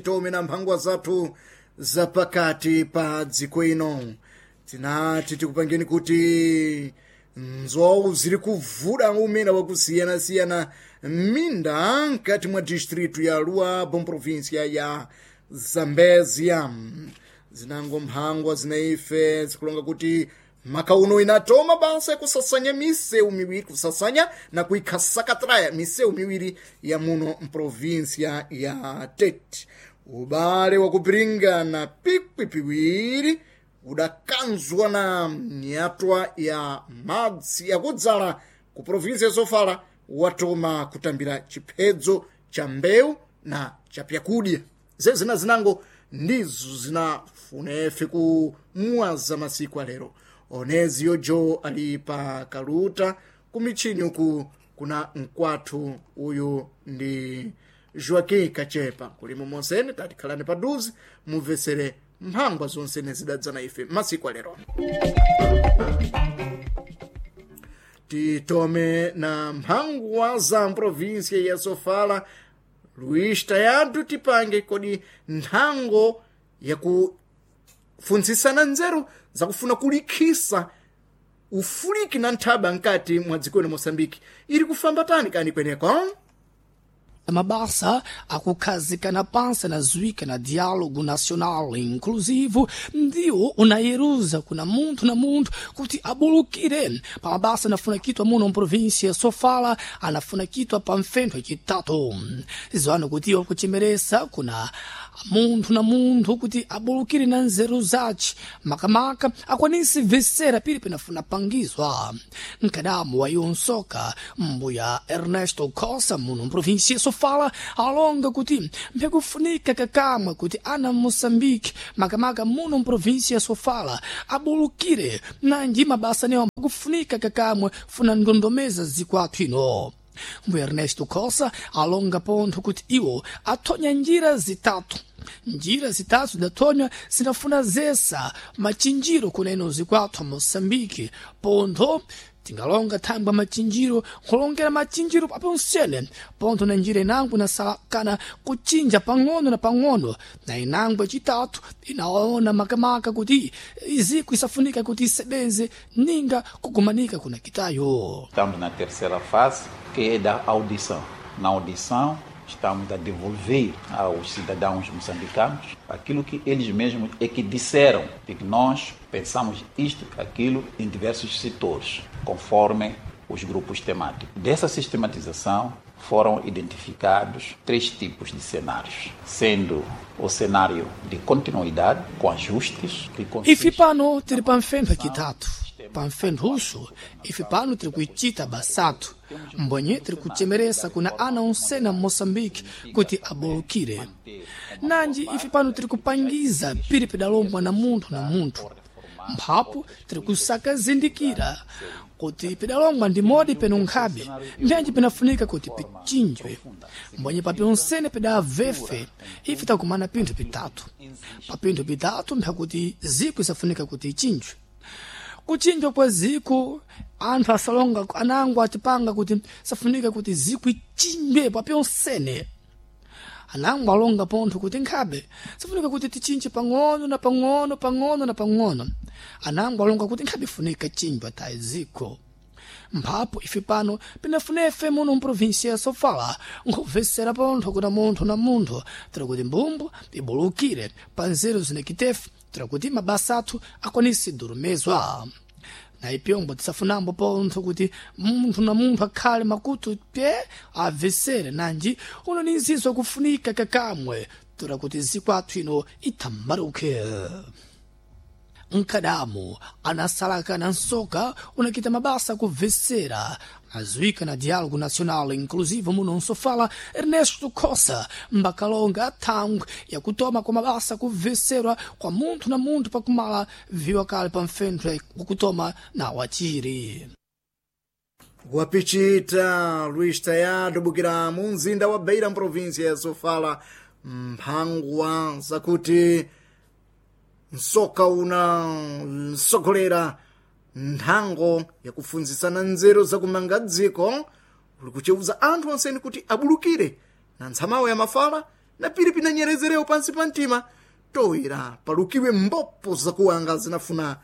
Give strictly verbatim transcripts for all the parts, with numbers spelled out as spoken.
Tome na mphangwa zathu zapakati pa dziko ino tinati tikupangeni kuti nzowu ziri kuvuda umene wakusiyanasiyana minda mkati mwa distritu ya Luabo província ya Zambezia. Zinango mphangwa zinaife zikulonga kuti maka uno inatoma basa yakusasanya misewu miwiri, kusasanya na kuikhasakatraya misewu miwiri ya muno mprovinsia ya Tete. Ubale wakupiringana pikwi piwiri udakanzwa na nyatwa ya madzi yakudzala ku provinsia ya Sofala watoma kutambira chiphedzo cha mbewu na cha pyakudya. Zezina zinango ndizo zinafunefe kumwaza masiku alero. Onezi yojo ali pa kaluta kumichini uku kuna mkwathu uyu ndi Joaquim Kachepa. Kulimo monsene tatikhalani paduze mumvesere mphangwa zonsene zidadzana ife masiku alero. Titome na mphangwa za mprovinsia ya Sofala. Luis Tayadu tipange kodi nthango yakufunzisana nzeru zakufuna kulikhisa ufuliki na nthaba nkati mwa dziko lino Moçambique iri kufamba tani kani kweneko? Mabasa akukhazikana pansi na zwika na diálogo nacional inclusivo ndiwo unayeruza kuna munthu na munthu kuti abulukire pa mabasa anafuna kitwa muno mprovinsia Sofala, anafuna kitwa pa mfentho yacitatu. Zizwano kuti iwo kuchemeresa kuna munthu na munthu kuti abulukire na nzeru zace, makamaka akwanise vesera pili penafuna pangizwa. Mkadamu wa iwo nsoka mbuya Ernesto Costa muno mprovinsia Sofala alonga kuti mpyakufunika kakamwe kuti ana Moçambique makamaka muno mprovinsia ya Sofala abulukire nanji mabasa newo kufunika kakamwe funa ndondomeza zikwathu ino. Mbuya Ernesto Costa alonga pontho kuti iwo athonya njira zitatu. Njira zitatu zidathonywa zinafuna zesa machinjiro kuneno zikwathu Moçambique. Pontho tingalonga thangwa machinjiro, nkulongera machinjiro paponsene pontho na njira inango inasalakana kuchinja pang'ono na pang'ono, na inango yacitatu inaona makamaka kuti iziko isafunika kuti isebenze ninga kugumanika kuna kitayo. Estamos na terceira fase, que é da audição. Na audição, estamos a devolver aos cidadãos moçambicanos aquilo que eles mesmos é que disseram, de que nós pensamos isto, aquilo, em diversos setores, conforme os grupos temáticos. Dessa sistematização foram identificados três tipos de cenários, sendo o cenário de continuidade, com ajustes, que consiste... Ife pano tiri pamfentho yacitatu, pamfentho uxo ife pano tiri kuicita basatu mbonye tiri kuchemeresa kuna ana onsena Moçambique kuti abolukire. Nanji ife pano tiri kupangiza piri pedalombwa na munthu na munthu, mphapo tiri kusaka zindikira kuti pedalongwa ndi modi peno nkhabe mbyanji penafunika kuti pichinjwe. Mbonye papi onsene pedavefe ife takumana pinthu pitatu. Pa pinthu pitatu mphakuti ziko isafunika kuti ichinjwe. Kuchinjwa kwa ziko anthu asalonga anango atipanga kuti safunika kuti ziko ichinjwe papi onsene. Anango alonga pontho kuti nkhabe safunika kuti tichinje pang'ono na pang'ono, pang'ono na pang'ono. Anango alonga kuti nkhabe ifunika chinjwa tayi ziko. Mphapo ife pano pinafunefe muno mprovinsia ya Sofala nkubvesera pontho kuna munthu na munthu tira kuti mbumbu ibulukire pa nzeru zinekitefe tira kuti mabasa athu akwanise durumezwa. Na ipyombo tisafunambo pontho kuti munthu na munthu akhale makutu pye abvesere, nanji uno ni nzizo kufunika kakamwe tura kuti zikwathu ino itambaruke. Mkadamu anasalaka na nsoka unakita mabasa kubvesera azuika na diálogo nacional inclusivo muno nsofala Ernesto Costa mbakalonga thangwe yakutoma kwa mabasa kubveserwa kwa munthu na munthu pakumala viwa kale pa mfentho wakutoma na wachiri. Wapichita Luis Tayado bukira mu mzinda wa Beira mprovinsia ya Sofala mphangwa zakuti nsoka una nsogolera nthango yakufunzisana nzeru zakumanga dziko uli kucheuza anthu onseni kuti abulukire na ntsamawo ya mafala Na pili pinanyerezerewo pansi pa mtima toera palukiwe mbopo zakuwanga zinafuna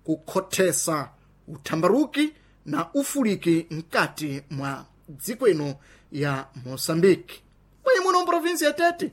kukhothesa uthambaruki na ufuliki mkati mwa dziko ino ya Moçambique. Mwenye muno mprovinsi ya Tete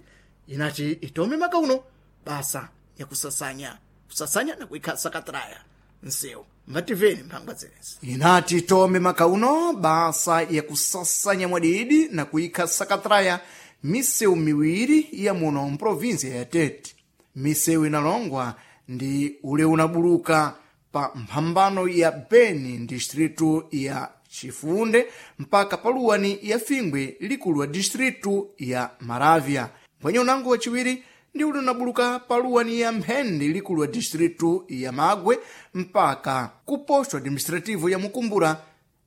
inati itome maka uno basa yakusasanya kusasanya na kuikha sakatraya nsewu mbativeni mphangwa zenezi. Inati itome maka uno basa yakusasanya mwadidi na kuikha sakatraya misewu miwiri ya muno mprovinsi ya Tete. Misewu inalongwa ndi ule unabuluka pa mphambano ya Beni distritu ya Chifunde mpaka paluwani ya Fingwe likulu wa distritu ya Maravya. Mbwenye unango wachiwiri ndi ule unabuluka paluwani ya Mphende likulu wa distritu ya Magwe mpaka ku posto administrativo ya Mukumbura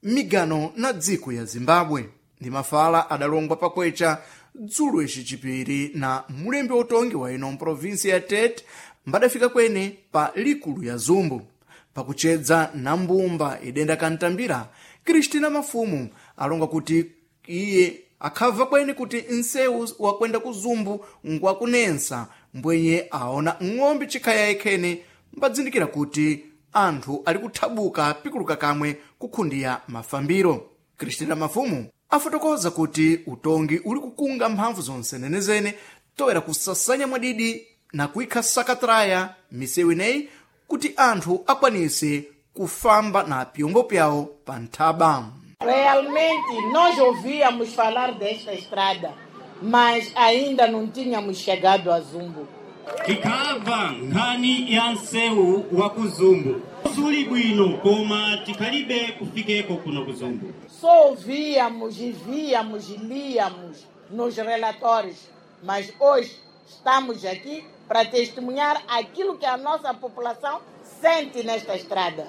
migano na dziko ya Zimbabwe. Ndi mafala adalongwa pakwecha dzulo ici chipiri na mulembi utongi wa ino mprovinsi ya Tete mbadafika kwene pa likulu ya Zumbu pakuchedza na mbumba idenda kantambira. Kristina Mafumu alonga kuti iye akhabva kwene kuti nsewu wakwenda ku Zumbu ngwakunensa mbwenye aona ng'ombe chikhaya ikhene mbadzindikira kuti anthu ali kuthabuka pikuluka kamwe kukhundiya mafambiro. Kristina Mafumu afotokoza kuti utongi uli kukunga mphamvu zonse nenezene toera kusasanya mwadidi na kuikha sakatraya misewu ineyi kuti anthu akwanise kufamba na pyombo pyawo pa nthaba. Realmente nós ouvíamos falar desta estrada, mas ainda não tínhamos chegado a Zumbo. Tikamva nkhani ya nsewu wa ku Zumbu suli bwino koma tikhalibe kufikeko kuno ku Zumbu. Só ouvíamos e víamos e líamos nos relatórios, mas hoje estamos aqui para testemunhar aquilo que a nossa população sente nesta estrada.